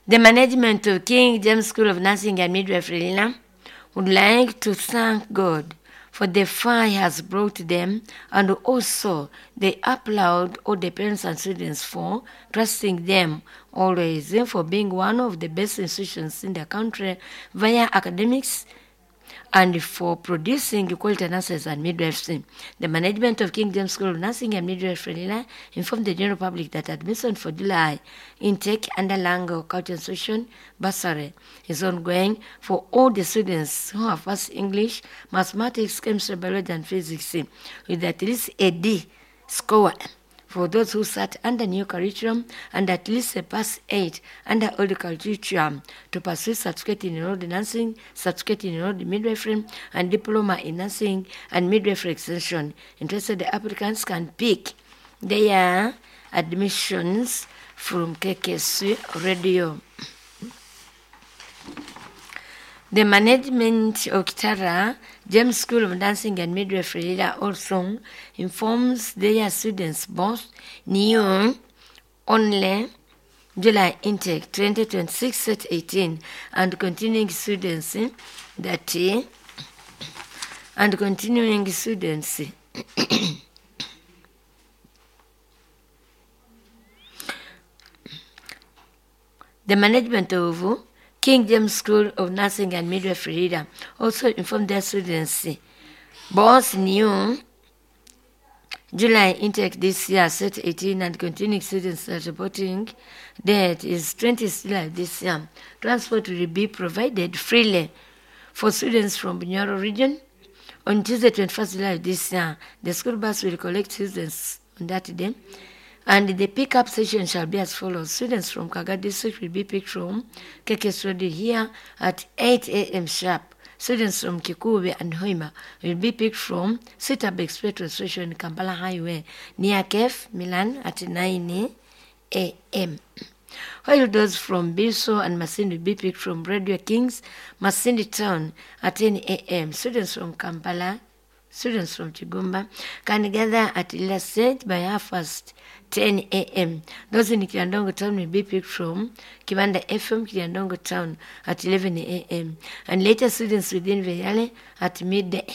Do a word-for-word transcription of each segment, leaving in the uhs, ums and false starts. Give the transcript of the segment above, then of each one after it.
The management of King James School of Nursing and Midwifery Lira would like to thank God for the far he has brought them, and also they applaud all the parents and students for trusting them always, for being one of the best institutions in the country via academics and for producing quality nurses and midwives. The management of King James School of Nursing and Midwifery Lira informed the general public that admission for July intake under Lango Culture Association bursary is ongoing for all the students who have passed English, Mathematics, Chemistry, Biology, and Physics with at least a D score for those who sat under new curriculum and at least a pass eight under old curriculum to pursue certificate in enrolled nursing, certificate in enrolled midwifery, and diploma in nursing and midwifery extension. Interested applicants can pick their admissions from K K S Radio. The management of Kitara James School of Nursing and Midwifery Lira also informs their students both new only July intake twenty twenty-six set eighteen and continuing students that and continuing students The management of King James School of Nursing and Midwifery Lira also informed their students both new July intake this year, set eighteen, and continuing students that reporting date is twentieth July this year. Transport will be provided freely for students from Bunyoro region. On Tuesday, twenty-first July this year, the school bus will collect students on that day. And the pickup session shall be as follows. Students from Kaga district will be picked from K K S Radio here at eight A M sharp. Students from Kikuube and Hoima will be picked from Sitabex petrol station, Kampala Highway, near Kef, Milan at nine A M. While those from Biso and Masindi will be picked from Radio Kings, Masindi Town at ten A M. Students from Kampala, students from Chigumba can gather at Lira Stage by half past ten A M. Those in Kiryandongo Town will be picked from Kibanda F M, Kiryandongo Town at eleven A M. And later students within Veyale at midday.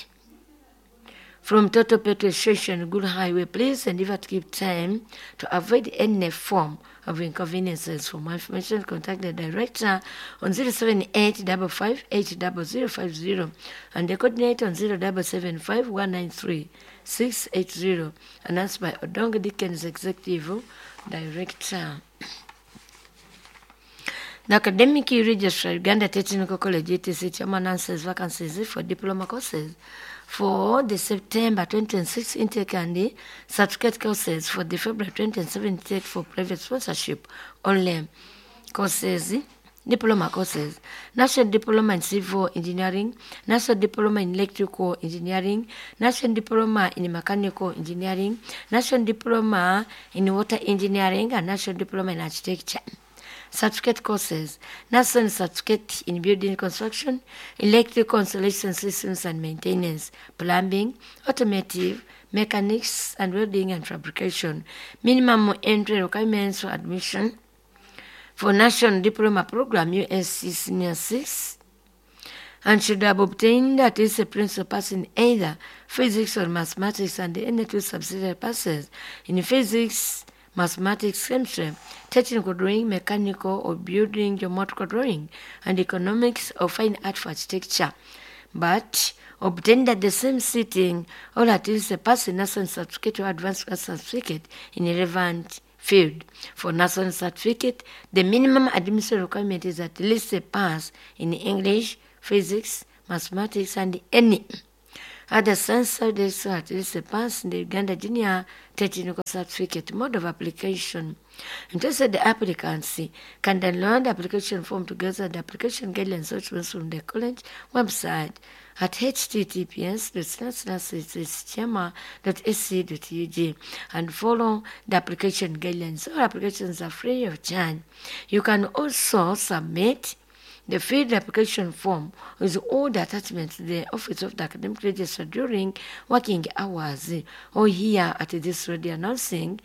From Toto Petrol Station, Good Highway, please endeavor to keep time to avoid any form of inconveniences. For more information, contact the director on zero seven eight five five eight zero zero five zero and the coordinator on zero seven seven five one nine three six eight zero. Announced by Odongo Dickens, Executive Director. The Academic Registrar, Uganda Technical College, E T C, Chairman announces vacancies for diploma courses for the September twenty twenty-six intake and the certificate courses for the February twenty twenty-seven intake for private sponsorship only courses, diploma courses, National Diploma in Civil Engineering, National Diploma in Electrical Engineering, National Diploma in Mechanical Engineering, National Diploma in Water Engineering, and National Diploma in Architecture. Certificate courses, National Certificate in Building Construction, Electrical Installation Systems and Maintenance, Plumbing, Automotive, Mechanics, and Welding and Fabrication. Minimum entry requirements for admission for National Diploma Program, U S C Senior six, and should have obtained at least a principal pass in either physics or mathematics and any two subsidiary passes in physics, mathematics, chemistry, technical drawing, mechanical or building, geometrical drawing, and economics or fine art for architecture. But obtained at the same sitting or at least a pass in national certificate or advanced class certificate in relevant field. For national certificate, the minimum admission requirement is at least a pass in English, physics, mathematics, and any other science subjects, at least a pass in the Uganda Junior Technical Certificate. Mode of application. Interested applicants can download the application form together with the application guidelines documents from the college website at H T T P S dot slash slash slash dot A C dot U G and follow the application guidelines. All applications are free of charge. You can also submit the filled application form with all the attachments to the Office of the Academic Registrar during working hours or here at this radio announcing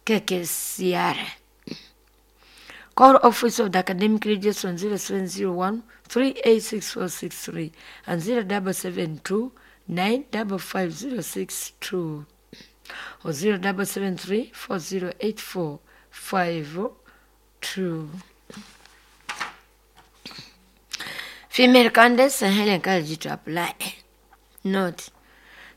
K K C R. Call Office of the Academic Registrar on zero seven zero one three eight six four six three and zero double seven two nine double five zero six two or zero double seven three four zero eight four five two. Female candidates are highly encouraged to apply. Note: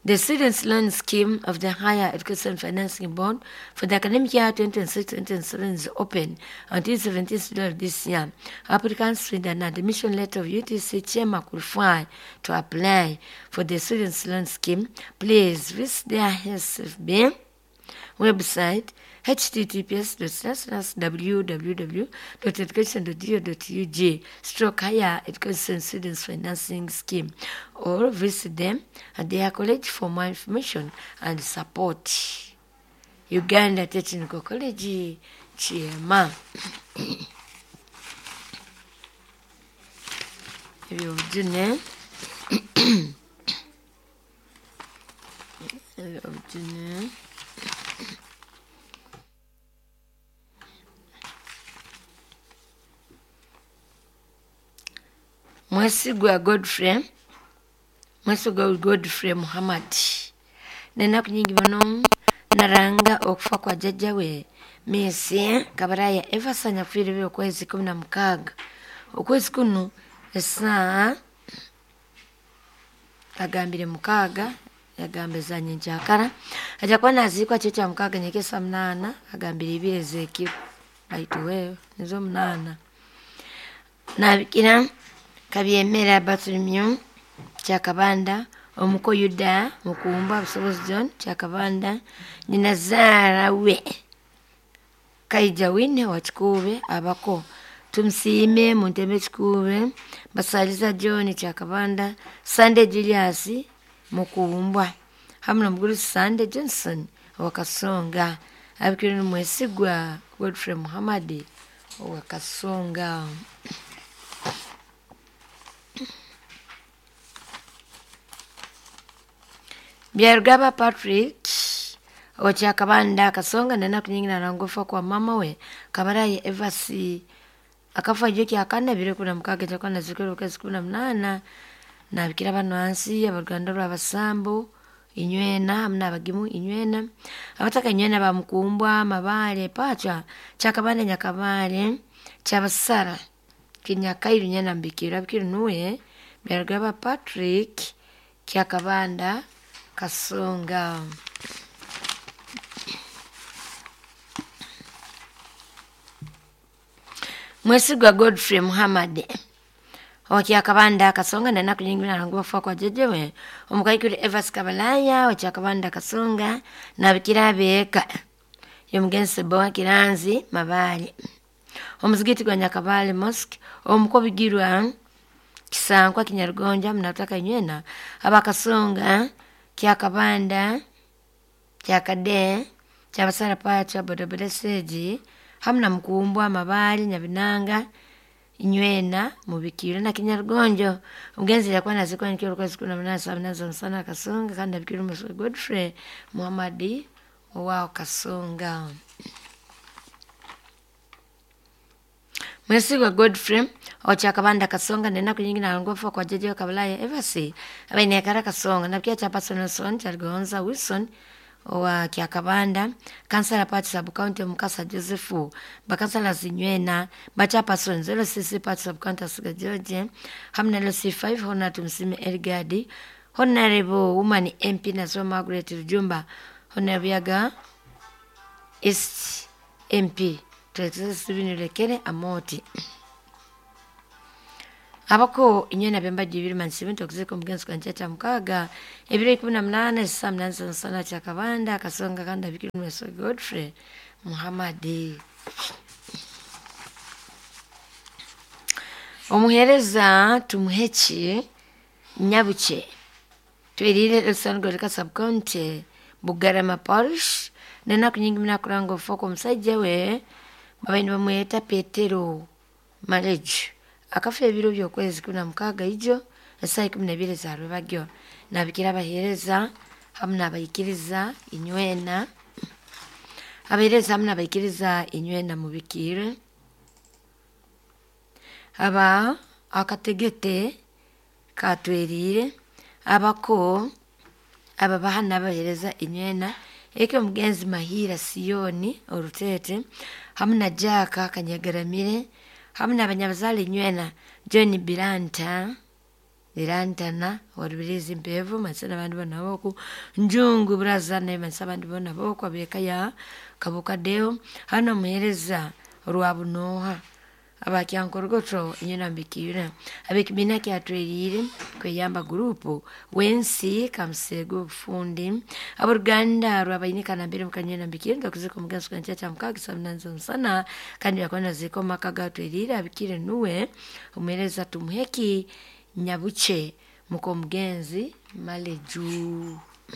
the Students' Loan Scheme of the Higher Education Financing Board for the academic year twenty twenty-six twenty twenty-seven is open until seventeenth July of this year. Applicants with an admission letter of U T C Chairman qualify to apply for the Students' Loan Scheme. Please visit their S F B website H T T P S dot slash slash w w w dot education dot g o dot u g stroke higher education students financing scheme or visit them at their college for more information and support. Uganda Technical College, Chiema. Ebyobujune. Ebyobujune. Mwesigwa Godfrey, Mwesigwa Godfrey Muhammad. Nenaku nyingi muno naranga okufa kwa jjajja we Mesi Kabaraya Everson yafiire okwezi kumi na mukaaga. Okwezi kuno esaa agambire mukaaga yagamba ezanye nkyakara ajja kuba naziikwa kyo kya mukaaga nyekesa munaana agambire ibiri ez'ekiro aituweyo nizo munaana. Nabikira Kabyemera Bartholomew Kyakabanda omuko Yuda Mukumba Busobozi John Kyakabanda nyina zaara we Kaija Wine wa Kikuube abako Tumusiime Munteme Kikuube Basaliza John Kyakabanda Sunday Julius Mukumbwa hamwe n'omugurusi Sunday Johnson owa Kasonga abikire Mwesigwa Godfrey Muhammad owa Kasonga. Byarugaba Patrick okyakabanda Kasonga nanaku nyingi narangofa kwa mama we Kabaraye Evasi akafa jo kyakana bire kuna mukaaga kyakana zikero kwezi kumi na munaana nabikira bano hansi abaruganda rw'abasambu inywena hamwe n'abagimu inywena abataka inywena bamukumbwa Mabale pacha Kyakabanda Nyakabale Kyabasara Kinyakairu nyena mbikira bikira nuwe Byarugaba Patrick Kyakabanda Kasonga. Mwesigwa Godfrey Muhammad okyakabanda Kasonga nanaku nyingi narangofa kwa jjajja omukaikuru Evas Kabalaya okyakabanda Kasonga nabikira abeeka yomugenzi Bowa Kiranzi Mabale omuzigiti gwa Nyakabale Mosque omukobigirwa Kisankwa Kinyarugonja munataka inywena abakasonga Kyakabanda Kyakade Kyabasara pacha bodaboda seji hamwe na Mukumbwa Mabale Nyabinanga inywena mubikiro na Kinyarugonjo omugenzi yakuba nazikwa nikyo okwezi kumi na munaana saa munaana z'omusana Kasonga kandi abikira Mwesigwa Godfrey Muhammad owa Kasonga. Mwesigwa Godfrey okyakabanda Kasonga nenaku nyingi narangofa kwa jjajja Kabalaya Evasi abainekara Kasonga nabikia Chapason Wilson Kyaligonza Wilson owa Kyakabanda kansala party sub county Mukasa Joseph bakansala zinywena bachapason zero six party sub county Asiga George hamwe na L C five Honor Tumsime Elgadi Honorable Woman M P Nazo Margaret Rujumba Honorable Yaga East M P Steven Lekere Amoti abako inywena bemba jibiri mansibi tokuzeko omugenzi kwa nkyakya mukaaga ebiro ikumi na munaana esaa munaana z'omusana Kyakabanda Kasonga kandi abikira Mwesigwa Godfrey Muhammad. Omuheereza Tumuheki Nyabuche twerire Elson Sub County Bugarama Parish nenaku nyingi munakuranga ofufa kw'omusajja we babaire nibamweta Petero Malejo akafa ebiro by'okwezi kumi na mukaaga ijo esaa ikumi n'ebiri za rwebagyo nabikira abaheereza hamwe n'abaikiriza inywena abaheereza hamwe n'abaikiriza inywena mubikire. Aba akategete katwerire abako ababaha n'abahereza inywena eke omugenzi Mahira Siyoni Orutete hamu na Jack Kanyagaramire hamu n'abanyabuzaale inywena John Biranta Birantana warubirizi Mpevu mansa n'abandi bona boku Njungu Buraza naye mansa abandi bona boku ab'eka ya Kabuka Deo hano omuhereza Rwabunoha abakyankorogoto inywena mbikire ab'ekibiina kyatwerire kweyamba gurupu wensi kamusego obufundi aboruganda rwabainika nambere mukanywena mbikire ndakuzika omugenzi kwancha kya mukaga saa munani z'omusana kandi yakona zika omu maka gatwerire abikire nuwe omuhereza Tumuheki Nyabuche muka omugenzi Maleju.